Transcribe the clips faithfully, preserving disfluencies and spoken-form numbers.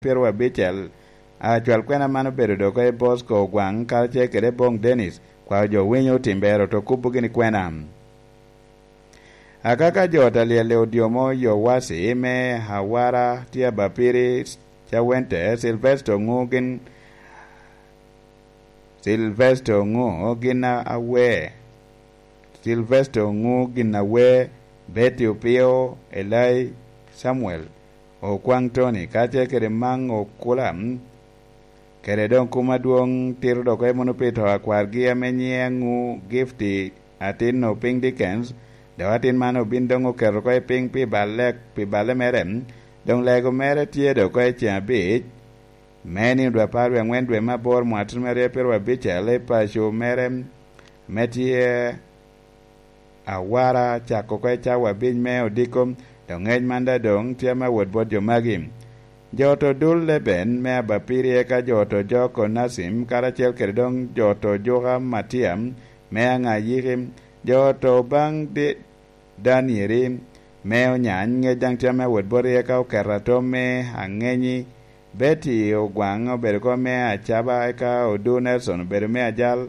pyerabicel. Acwal kwena man obedo dok i Bosco Ogwaŋ karacel kede Bong Dennis, kwao jo winyo Timbero to kubo gini kwena. Akaka jo ta lyel i odyomo Yowasi me Awara tye abapiri Cawente, Silvesto ŋu gin, Silvesto ŋu gin awe, Silvesto ŋu gin awe, Betty Opio, Elai Samuel, Okwaŋ Tony, kacel kede Maŋ Okula, kede doŋ kum adwoŋ tito dok emo pi to akwargi ame nyiŋe aŋu Gifty, atin Opiny Dickens, dok atin man obin doŋ oketo oko i piny pi balle, pi balle mere, doŋ lego mere tye dok oko i ceŋ abic, me nino dwe apar wie aŋwen dwe me aboro mwaka tutumia aryo pyerabicel i paco mere, me tye Awara cako oko i cawa abic me odiko, dok ŋec man daŋ doŋ tye ame awot bot jo magi. Jo to dul Leben me Abapiri, eka jo to Joko Nacim, karacel kede doŋ jo to Juka Matia me Aŋayiki, jo to baŋ Di-, Danieri me Onyany, ŋec daŋ tye ame awot boti, eka oketo atom me Aŋenyi, Betty Ogwaŋ obedo kom me Acaba, eka Odu Nelson obedo me Ajal,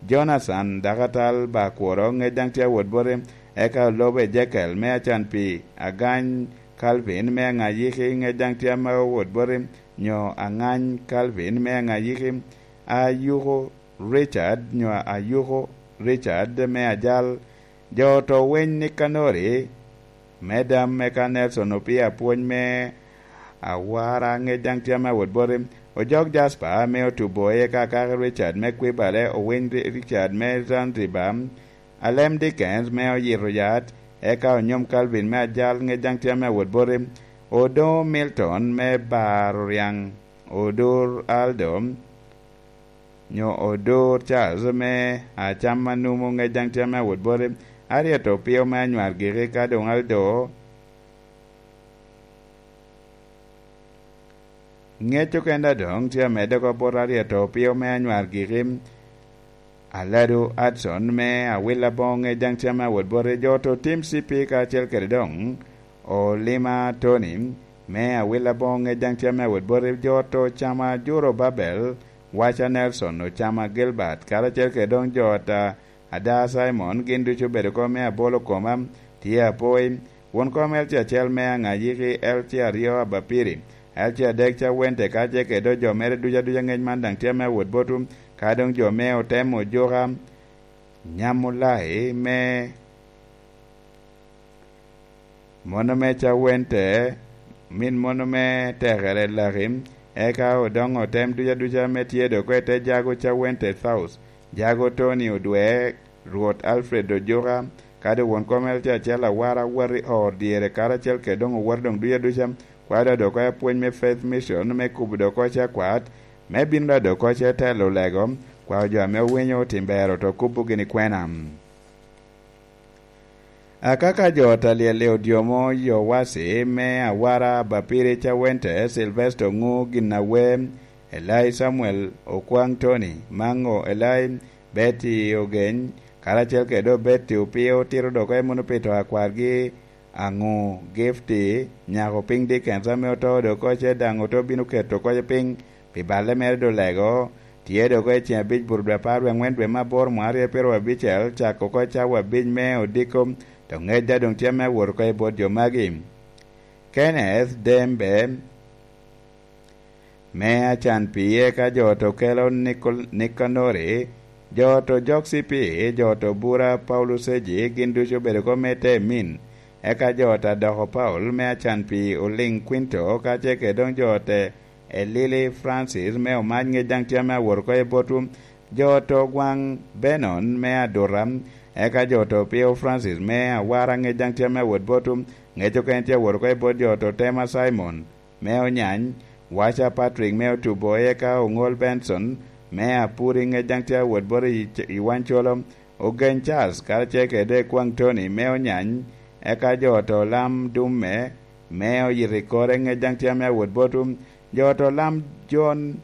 Jonathan dakatal Bakworo, ŋec daŋ tye awot boti, eka Olobo Ejekel me Acan Pi, Agany Calvin me Aŋayiki, ŋec daŋ tye ame awot boti, nyo Aŋany Calvin me Aŋayiki, Ayuko Richard, nyo Ayuko Richard me Ajal, jo to weny Nikanori, me Dam, eka Nelson Opia Pwony me Awara, ŋec daŋ tye ame awot boti, Ojok Jasper me Otubo, eka Akaki Richard me Kwibale, Owiny Ri-, Richard me Zanzibar, Alem Dickens me Oyito Yat, eka Onyom Calvin me Ajal, ŋec daŋ tye ame awot boti, Odoŋo Milton me Baro Riaŋ, Odur Aldo, nyo Odur Charles me Acam Anumu, ŋec daŋ tye ame awot boti, Ariet Opio me Anywar Giki, ka doŋ Aldo. Ŋec oken daŋ doŋ tye amedde oko bot Ariet Opio me Anywar Giki, Aladu Adson me Awil Aboŋo, ŋec daŋ tye ame awot boti, jo to Tim C P kacel kede doŋ Olima Tony me Awil Aboŋo, ŋec daŋ tye ame awot boti, jo to Cama Juro Babel, Waca Nelson, Ocama Gilbert, karacel kede doŋ jo ta Ada Simon, gin ducu obedo oko me Abolo Koma, tye Apoi, won kom L C acel me Aŋayiki, L C aryo Abapiri, L C adek Cawente, ka ce kede jo mere ducu aduca, ŋec man daŋ tye ame awot botwu, ka doŋ jo me Otem Ojuka, Nyamulai me Mono me Cawente, min mono me Tekere Laki, eka odoŋo otem duca duca ame tye dok oko i te Jago Cawente South, Jago Tony Odwe, Rwot Alfred Ojuka, kadi won kom L C acel Awara, wot i or dyere karacel kede doŋ owot doŋ duca duca, kwao dok oko i apwony me Faith Mission me kubo dok oko i akwat, me bino dok oko i telo lego, kwao jo ame owinyo Timbero to kubo gini kwena. Akaka jo ta lyel i odyomo Yowasi me Awara, Bapiri Cawente, Silvesto Ŋu Ginawe, Elai Samuel Okwaŋ Tony, Maŋo Elai, Betty Ogeny, karacel kede Betty Opio tito dok oko i Muno Pito akwargi, Aŋu Gifty, nyako piny Dickens ame oto dok oko ce daŋ oto bino keto oko piny, pi balle mere dolego, tye dok oko i ceŋ abic buto dwe apar wie aŋwen dwe me aboro mwaka aryo pyerabicel, cako oko i cawa abic me odiko, to ŋec daŋ doŋ tye ame awot oko i bot jo magi. Kenneth Dembe me Acan Pi, eka jo to kelo Nikol-, Nikanori, jo to Jok C P, jo to Bura Paulus Eji, gin ducu obedo oko me te min, eka jo ta doko Paul me Acan Pi, Oliŋ Quinto, ka ce kede doŋ jo te Elili Francis me Omac, ŋec daŋ tye ame awot oko i botwu. Jo to Gwaŋ Benon me Aduta, eka jo to Pio Francis me Awara, ŋec daŋ tye ame awot botwu. Ŋec okene tye awot oko i bot jo to Tema Simon me Onyany, Waca Patrick me Otubo, eka Oŋol Benson me Apuri, ŋec daŋ tye awot bot i, i Wancolo. Ogeny Charles karacel kede Kwaŋ Tony me Onyany, eka jo to Lam Dumme me Oyito i Kore, ŋec daŋ tye ame awot botwu. Jo to Lam Jon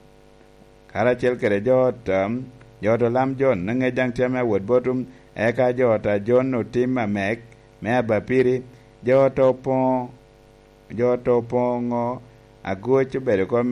karacel kede jo to, jo to Lam Jon, ŋec daŋ tye ame awot botwu. Eka jo ta Jon Otim Amek me Abapiri, jo to Poŋo, jo to Poŋo Agoc obedo kop me